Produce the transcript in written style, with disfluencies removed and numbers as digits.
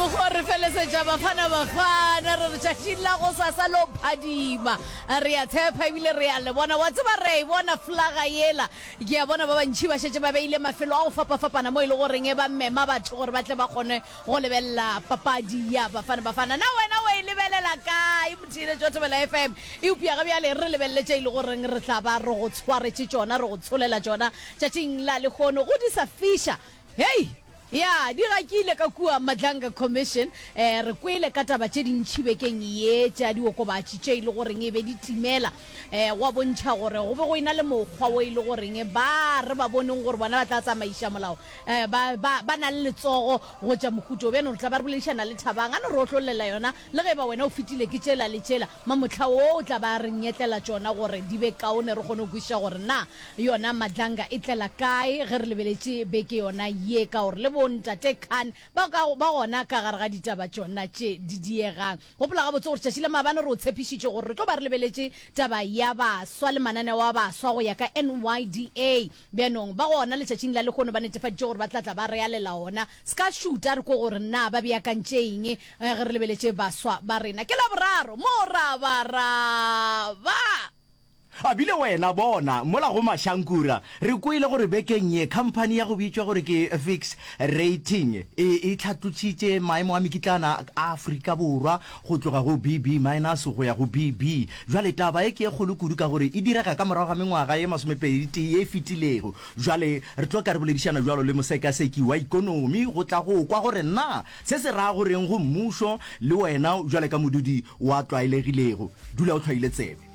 mokgwa re felesetša Bafana Bafana re re tšatšing la go sasa lo phadima. Re a tshepa ebile re a le bona. Wa tseba re a e bona flaga yela. Ke a bona ba bantši ba šetše ba beile mafelo a go fapafapana mo e le goreng ba mema batho gore ba tle ba kgone go lebelela papadi ya Bafana Bafana. Na wena o e lebelela kae motheeletši wa Thobela FM? Eupša ga bjale re lebelele tše e le goreng re tla ba re go tshwaretše tšona, re go tsholela tšona tšatšing la lehono. Go di sa fiša. Hei! Ya, di gakile ka kua Madlanga Commission. Eh, re kwele ka taba tše dintši bekeng ye tša diokobatši tše e le goreng e be di timela. Eh, gwa bontšha gore go be go ena le mokgwa wo e le goreng ba re ba boneng gore bona ba tla tsamaiša molao, eh, ba, ba, ba na le letsogo go tša mohuta wo. Bjano re tla ba re boledišana le Thabang, a no re otlollela yona, le ge e ba wena o fetile ke tšela le tšela, mamohla wo o tla ba a re nyetlela tšona gore di be kaone re kgone go kwešiša gore na Yona Madlanga e tlela kae ge re lebeletše beke yona ye ka gore le bo Ntate Khan ba ka ba gona ka gare ga ditaba tšona tše di diegang. Gopola gabotse gore tšatši la maabane re o tshepišitše gore re tlo ba re lebeletše taba ya baswa le mananeo a baswa go ya ka NYDA. Bjanong ba gona letšatšing la lehono ba netefaditše gore ba tla tla ba re alela ona. Se ka šuta re kwe gore na ba beakantše eng ge re lebeletše baswa ba rena. Ke Laboraro, morabaraba! A bile wena, bona, mola go Mashankura, re kwele gore bekeng ye khamphani ya go bitšwa gore ke Fix Rating e e hlatlotšitše maemo a mekitlana a Afrika Borwa go tloga go BB minus go ya go BB. Bjale taba ye ke ye kgolo kudu ka gore e direga ka morago ga mengwaga ye masomepeditee ye e fetilego. Bjale re tlo ka re boledišana bjalo le mosekaseki wa ikonomi go tla go kwa gore na se se ra go reng go mmušo le wena bjale ka modudi wa tlwaelegilego. Dula o hlwaile tsebe.